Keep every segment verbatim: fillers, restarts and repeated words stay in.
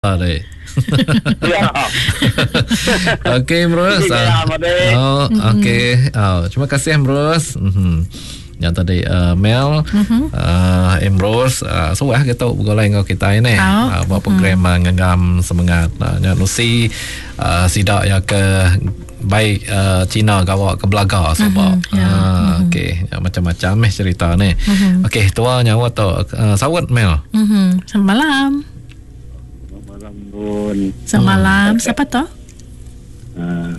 Deh. Ya. Okey, Ambrose. Ya, Amadei. Oh, okey. Oh, terima kasih Ambrose. Mhm. Yang tadi uh, Mel, uh-huh. uh, Ambrose, uh, suah gitu bergulai dengan kita ini. Oh. Uh, buat program uh, ngegam semangat. Uh, yang Lucy uh, sidak ya ke baik uh, Cina gawak ke Belaga sebab. Mhm, ya. Uh, okey, ya, macam-macam eh cerita ni. Mhm. Okey, tua nyawa tu uh, sawat Mel. Mhm. Selamat malam. Malam pun. Selamat malam. Siapa tu? Ah.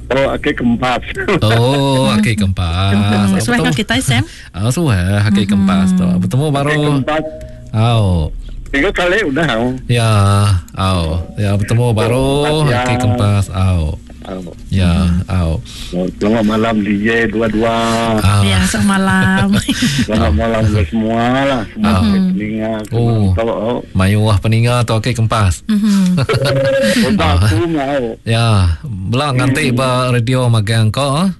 Oh, okey kempas. Oh, okey kempas. Hmm, Suah Betul. kau kita Sam. Ah, suah okey kempas tu. Bertemu baru. Okey kempas. Au. Tiga kali udah. Oh. Ya, au. Ya bertemu baru Ya. okey kempas. Au. Oh. Ya, au. Selamat malam D J dua-dua. Ah. Ya, selamat malam. Selamat malam ke semua lah. Semua Ah. peninga. Oh. Semua oh. Mayuah peninga tu okey kempas. Mhm. Udah aku mau. Ya, belak nganti ba radio magang kau. ah.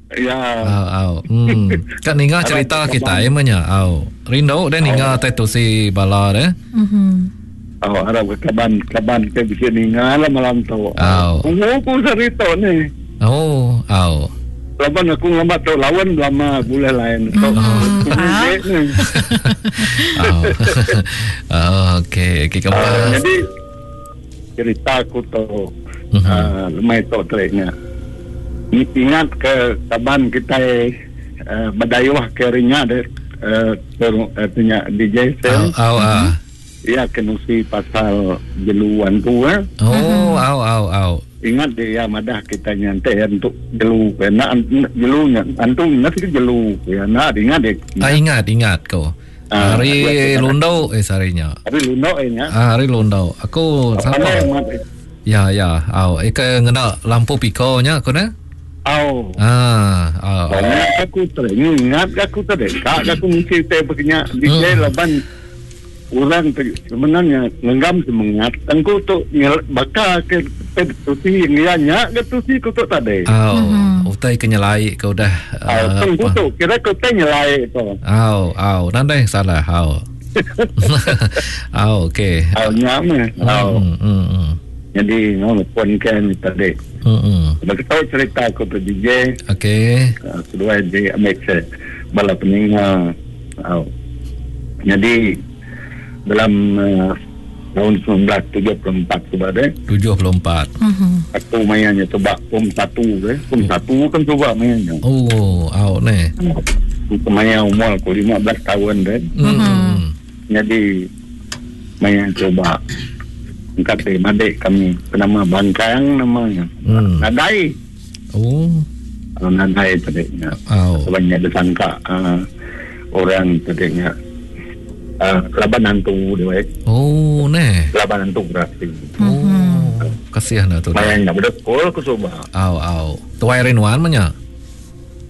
Ya. Au, au. Hmm. Kan ninga cerita kita ya menya. Au. Rindu deh ninga teh tu si bala deh. Mhm. Oh, harap ke kaban kaban ke bisa ninga lah malam tu. Oh. Aku aku cerita ni. Oh, au. Laban aku ngambat tu lawan lama boleh lain. Tu. Ah. Ni. Au. Oh, okey, okey Ah, kempas. jadi cerita aku tu Mhm. uh, lemai tu teriknya. Ingat ke kaban kita uh, berdayuh ke rinya de uh, ter, uh, punya D J Au, Sel. au, ah. Ia kenusi pasal jeluan tu eh. Oh, au, au, au. Ingat dia madah kita nyantai ya, untuk jelu kena jelunya antum nanti jelu ya nah ingat deh Ah, ingat, ingat kau. Ah, Hari aku- lundo eh sarinya. tapi luno eh nya Ah, hari lundo. Aku Pandai siapa? amat. Ya, ya. Au, eh ke ngena lampu piko nya aku ne? Au. Ah, au. au. Ingat aku tadi, ingat aku tadi. Kak aku mesti teh berkenyak di Hmm. laban orang tu sebenarnya ngenggam semangat. Tengku tu ngel- bakal ke ke tusi ngianya ke tusi ku tu tadi. Au, utai kenyelai kau dah. Au, ah, tengku apa. tu kira kau teh nyelai tu. Au, au, nandai salah. Au. Au, okey. Au nyame. Au. Hmm, hmm, hmm. Jadi ngono pun kan tadi. Hmm, hmm. Bagi tahu cerita aku tu D J, Okey. uh, kedua di ambil se bala peninga. Au. Jadi dalam uh, tahun sembilan belas tujuh puluh empat tu ada tujuh puluh empat. Mhm. aku mainnya coba pom satu eh pom satu kan coba mainnya Oh, au ne. aku main umur aku lima belas tahun deh Hmm. hmm. jadi main coba kata madik kami bernama Bangkang namanya Hmm. Nadai Oh, kalau Nadai tadi au. sebanyak disangka uh, orang tadinya uh, laban hantu dia baik Oh, ne. laban hantu berarti Oh, kasihan dah tu. Bayangnya budak sekolah aku coba Au, au. Tuai Rinwan menya.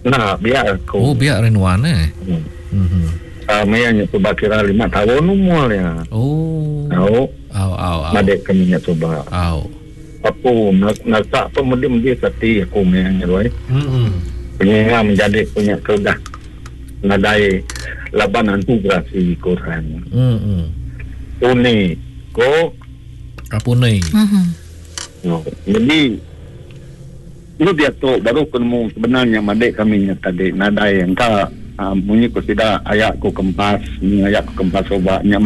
nah biar aku Oh, biar Rinwan eh. Hmm. Mhm. Uh, mayanya coba kira lima tahun umurnya Oh. tahu Au, au, au. madek kami nya coba Au. aku nak nak apa mudi mudi sati aku mayanya baik Hmm. punya menjadi punya kedah nadai laban hantu berarti kurang Hmm. hmm. Uni ko Rapune. Mhm. No. Jadi lu dia tu baru ketemu sebenarnya madek kami nya tadi nadai yang ka uh, bunyi ku sida ayak ku kempas ni ayak ku kempas obatnya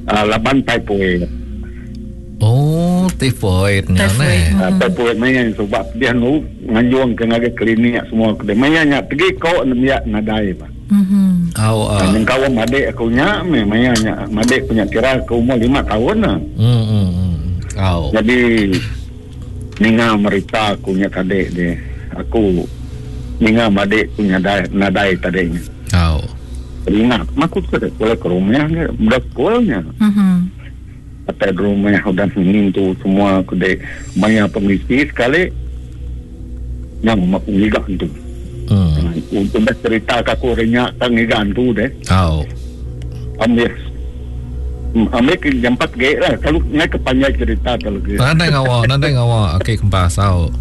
uh, laban typhoid Oh, typhoid nya Typhoid. ne. uh, typhoid maya yang sebab dia nu nganjuang ke ngagai klinik semua ke maya nya pergi kau nembiak nadai ba Mhm. Au, uh. au. yang kawan madek aku nya me maya nya madek punya kira ke umur lima tahun lah Hmm. hmm, hmm. Au. Jadi ninga merita aku nya kadek dia. Aku ninga madik punya nadai, nadai tadinya. Au. Ingat, aku tu ada sekolah ke rumah ke, budak sekolahnya. Mhm. Kata di rumah udah tu semua aku dek maya pengisi sekali yang aku ngiga tu. Hmm. Untuk dah cerita ke aku renyak tang ngiga tu deh. Au. Ambil Ambil ke jam empat ge lah. Kalau ngai kepanjang cerita kalau gitu. Nandai ngawa, nandai ngawa. Okey kempas au.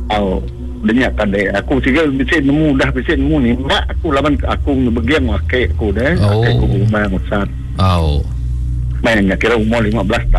Au, denyak tadi aku siga bisi nemu dah bisi nemu ni mak aku laban aku begiang wake aku deh Oh. aku rumah musat Au. Main kira umur lima belas tahun.